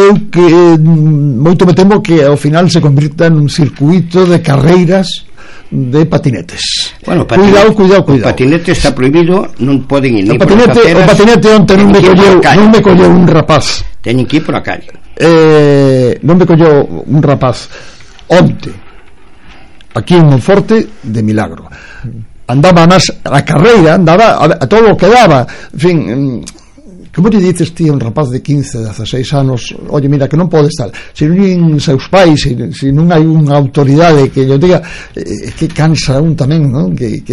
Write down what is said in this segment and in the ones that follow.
eu que moito me temo que ao final se convirta nun circuito de carreiras de patinetes. Bueno, cuidado. O patinete está prohibido, non poden ir. O patinete onte non me colleu un rapaz. Teñen que ir por a calle. Non me colleu un rapaz onte aquí en Monforte de milagro. Andaba a carreira, andaba a todo o que daba. En fin, como lle dices ti a un rapaz de 15, 16 anos, oye, mira, que non pode estar, se non seus pais, se non hai unha autoridade que lle diga, que cansa un tamén, non? Que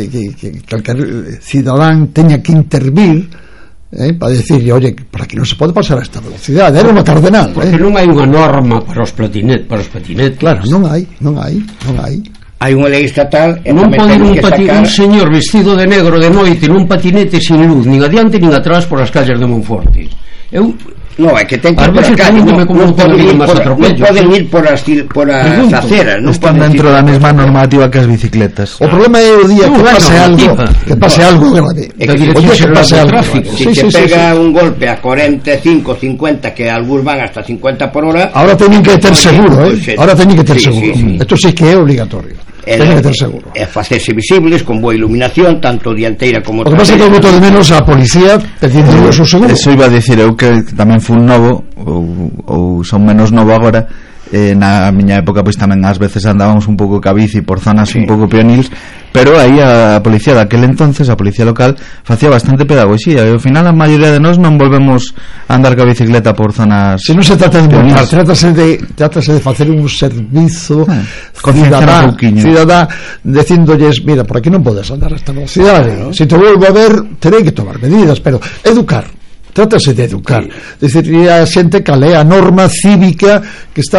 calquer cidadán teña que intervir para decirle, oye, por aquí non se pode pasar a esta velocidade, era unha cardenal. Porque non hai unha norma para os patinetes. Claro, non hai. Hai unha lei estatal e non pode ir un señor vestido de negro de noite nun patinete sin luz, nin adiante nin atrás por as calles de Monforte. Non, é que ten que ir por a calle, non poden ir por as aceras, non están dentro da mesma normativa que as bicicletas. O problema é o día que pase algo grave, que pase algo grave. Se te pega un golpe a 45, 50, que algúns van hasta 50 por hora, ahora teñen que ter seguro, isto sí que é obligatorio. Teñen que ter seguro. É facerse visibles con boa iluminación, tanto dianteira como traseira. O que pasa é que eu boto de menos a policía pedindo o seu seguro. Eso iba a dicir eu, que tamén fui un novo ou son menos novo agora. Na miña época pois tamén ás veces andábamos un pouco ca bici por zonas un pouco pionils, pero aí a policía daquel entonces, a policía local, facía bastante pedagogía e ao final a maioría de nós non volvemos a andar ca bicicleta por zonas. Se non se trata de multar, trátase de facer un servizo cidadá dicindolles, mira, por aquí non podes andar a esta velocidade, se te volvo a ver terei que tomar medidas, pero trátase de educar, decir, a xente cal é a norma cívica que está